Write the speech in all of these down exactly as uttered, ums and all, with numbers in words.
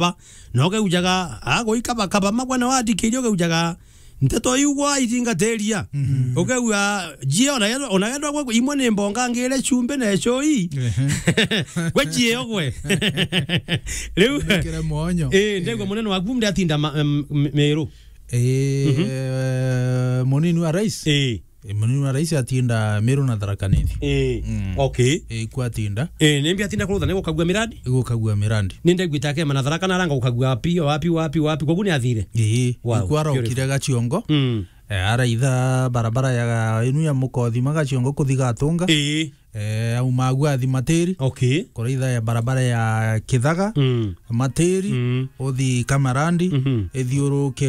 ba, na ukeujaga, agoikaba kaba magwe na watikiria ukeujaga, nteto iu gwa itingatiria. Mhm. Ukeuga, jie ona yendo, ona yendo gwa imwe ni mbonga ngire chumbi na choi. Ehe. Gwe jie ogwe. Riu. Ndikire mwonyo. Eh, ndegwa munene waku ndi atinda ma-, em, m-, Meru. Eh, Mhm. eh, munini wa rais? Eh. Eh, munini wa rais atinda Meru na Tharaka Nithi. Eh, Mm. okay. Eh, ikwa atinda. Eh, nimbi atinda kurutha ni gukagua miradi? Gukagua miradi. Ni ndaiguite akema na Tharaka na aranga gukagua wapi, wapi, wapi, wapi. Kogu ni athire? Eh, Wow, ikwa beautiful. araukire Gaciongo. Mm. Eh, araitha barabara ya inu ya Mukothima Gaciongo kuthi Gatunga. Eh. Eh, auma agu athi Matiri. Okay. Kuraitha ya barabara ya Kithaga, Mm. Matiri, Mm. uthi Kamarandi, Mhm. ithiuruke,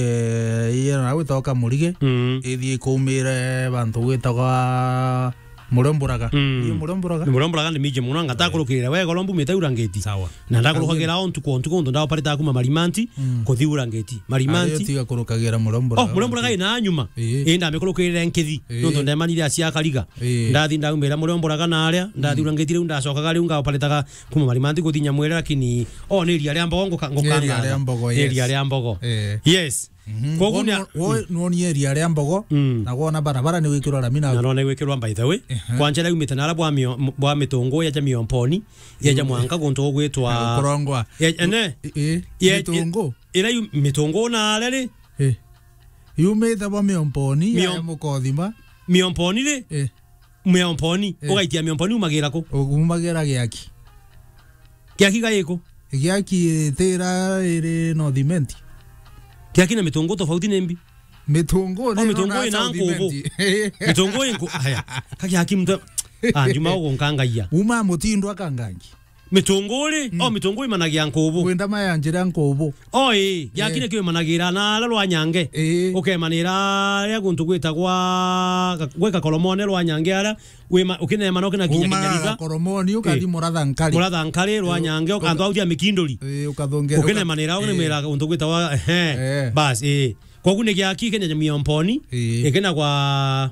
iye na gwitoka Murige, Mm. ithie ikuumire bantu gwitagwa Muremburaga. Mm. Ni Muremburaga? Ni Muremburaga ndi miji muno, ngatakurukirira wega uria mbumite ura ngeti. Sawa. Na ndakurukagira o ntuku o ntuku, nontu ndaparita kuma Marimanti, Mm. kuthi ura ngeti. Marimanti. Ari tiga kurukagira Muremburaga. Oh, Muremburaga ina nyuma. Ii. Ii, ndamikurukirire nkithi. Ii. Nontu ndemanire acia Kariga. Ii. Ndathi ndaumira Muremburaga na aria, ndathi Mm. ura ngeti riu ndacokaga riu ngaparitaga kuma Marimanti kuthi Nyamwere, lakini, oh, ni iria ria Mbogo nguka-, Ni iria ngukangara. ria Mbogo, Ni iria yes. ria Mbogo. Ii. Yes. Mhm. Koguo Won-, ni a- won-, won-, woni iria ria Mbogo, Mm. na wona barabara ni wikirwa rami na Na none gwikirwa, by the way. Ehe. Kwanja riu mite nara bwa mio-, m-, bwa mitungu ya ja Miomponi, ya ja Mm. mwanka guntu gugwitwa Kurongwa. Ya, ene? I-, i-, Ya, mitungu? Ira yu-, mitungu na riri? Eh. Yumite bwa Miomponi, ya Mio-, ya Mukothima. Miomponi ri? Eh. Miomponi. Eh. Ugaitia Miomponi umagira ku? Umagira Giaki. Giaki gaiku? Giaki tira iri North Imenti. Giaki na mitungu tofauti ni mbi? Mitungu ni Oh, mitungu ina South nkubu. Imenti. Mitungu inku-, aya. Ka Giaki mtu. Ah, njuma ugu nkangaia. Uma mutindo akangangi. Mitungu ri? Mm. Oh, mitungu imanagia nkubu. Wenda maya njira nkubu. Oh, ii. Giaki Eh. ni kio imanagira na ala rwa nyange. Eh. Ukemanira aria guntu gwitagwa ga-, gwe Kakoromone rwa nyange aria. Wima-, ukinemana ukina kinya Umaga Kinyariga. Gakoromoni, ukathi Eh. Muratha Nkari. Muratha Nkari, rwa Eh, nyange, uka-, ukanthwa uthia Mikindori. Eh, ukathongera, Ukinemanira, uka-, ukinemanira eh. untu gwitagwa, ehe, Eh. bas, eh. Kogu ni Giaki, Kenya, Miomponi, Eh. ikina kwa,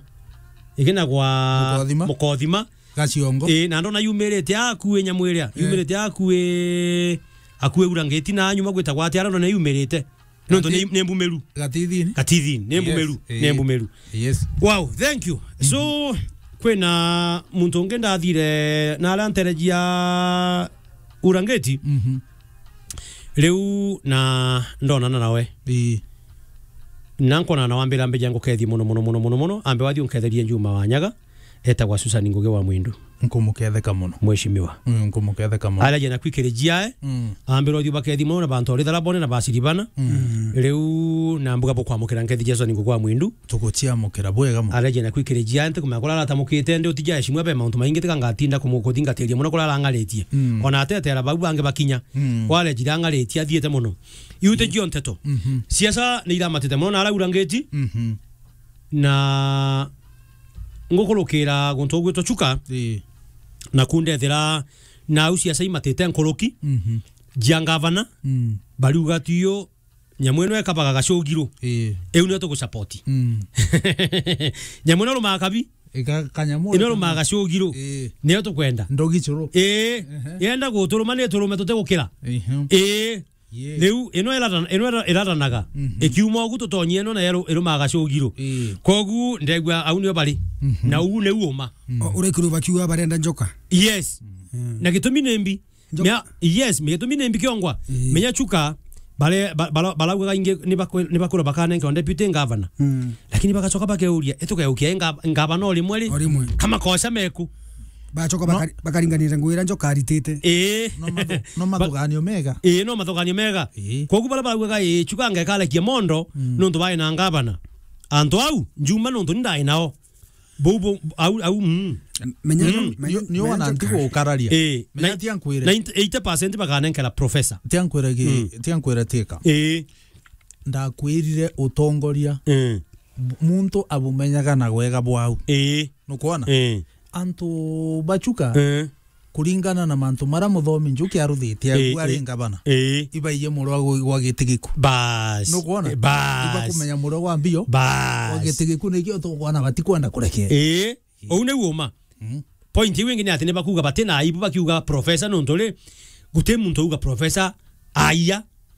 ikina kwa Mukothima. Mukothima. Gaciongo. Eh, na ndona yumirite akue Nyamwiria, Eh. yumirite akue, akue ura ngeti na nyuma gwitagwa atia, ndona yumirite. Nontu ni, Gati-, ni mbumiru. Gatithini? Gatithini, ni Yes, mbumiru, eh. ni mbumiru. Yes. Wow, thank you. So, kwina muntu ungi ndathire na aria nterejia ura ngeti. Mhm. Riu na ndonana nawe. Ii. Na nkona na wambira mbeja ngukethie muno, muno, muno, muno, muno. Ambe wathi unketherie Njuma wa Nyaga. Etagwa Susan Ngugi wa Mwindu. Nkumuketheka muno. Mheshimiwa. Mm, nkumuketheka muno. Aria jena kwikirijiae, Mm. ambirwa thiu bakethi muno na bantu ori tharabone na basiribana. Mm. Riu na mbuga bukwamukira nkethi Jason Ngugi wa Mwindu. Tuguciamukira bwega muno. Aria jena kwikirijiae, nti kumenya kuria aratamukite, ndi utija eshimwe be mauntu maingi tika ngatinda kumu-, kuthingatiria muno kuria arang'aritie. Mm. Ona atetera bau bangi bakinya. Mm. Kware jira ang'aritie athiite muno. Iu ti cio nteto. Mhm. Siasa ni iramatite muno na araura ngeti. Mhm. Na ngukurukira guntu gwitwa Chuka, Ii. na kundethera na au siasa imatite nkuruki, Mhm. jia ngavana, Mm. bariuga tiyo, nyamu ino ekabaga gacugiru. Ii. Iu niyo tugusupport. Mm. Nyamu ino rumaga kabi. Ika-, kanyamu Ino ika- rumaga gacugiru. Ii. Niyo tukwenda. Ndogi churu. Ii. Ehe. Yenda guturuma ni turume tutigukira. Ehe. Ii. Yes. Riu, ino irata-, ino ira-, iratanaga. Mhm. Ikiuma ugu tutonyie ino na iru-, irumaga cugiru. Ii. Kogu, ndegua au nio bari. Mhm. Na uu niu uma. Mm. O, urekuru bakiuga barenda njoka. Yes. Mm. Na gitumi ni mbi. Njoka. Mea-, yes, gitumi ni mbi kiongwa. Ii. Menya Chuka, bare-, ba-, bara-, baraugaga ingi ni bakwe-, ni bakura bakanenkerwa deputy governor. Mm. Lakini bagacoka bakeuria, itukeukia nga-, ngavana o rimwe ri? O rimwe. Kama kosa meku. Bacoka No. bakari-, bakaringanira ngugi iria njoka aritite. Ii. No mathu-, no Ba-, mathuganio mega. Ii, no mathuganio mega. Ii. Kogu bara baraugaga, ii, Chuka ngekarakia mondo, Mm. nontu bae na ngavana. Antu au, njuma nontu ni ndae nao. Bou, bou, au, au, mm. Menya, Mm. menya, Nio, nio menya wana njoka. Ntigo ukararia. Ii. Menya Na-, tia nkwire. Ninety, eighty percent bakanenkera professor. Tia nkwire gi-, Mm. tia nkwire tika. Ii. Ndakwirire utongoria. Mm. B-, muntu abumenyaga na gwega bwau. Ii. Nukwona? Ii. Antu ba Chuka, Ii. kuringana na mantu maria muthomi Njuki aruthite, Ii, agu ari ii. ngavana. Ii. Ibaiye murwa gwa, gwa gitigiku. Bas. Nukwona? Bas. Ibakumenya murwa gwa mbio. Bas. Gwa gitigiku nikio tukwona batikwenda kurekera. Ii. Ou niu uma. Mm. Point iu ingi ni ati ni bakuga bati na aibu bakiuga professor nontu ri, guti muntu auga professor aiya.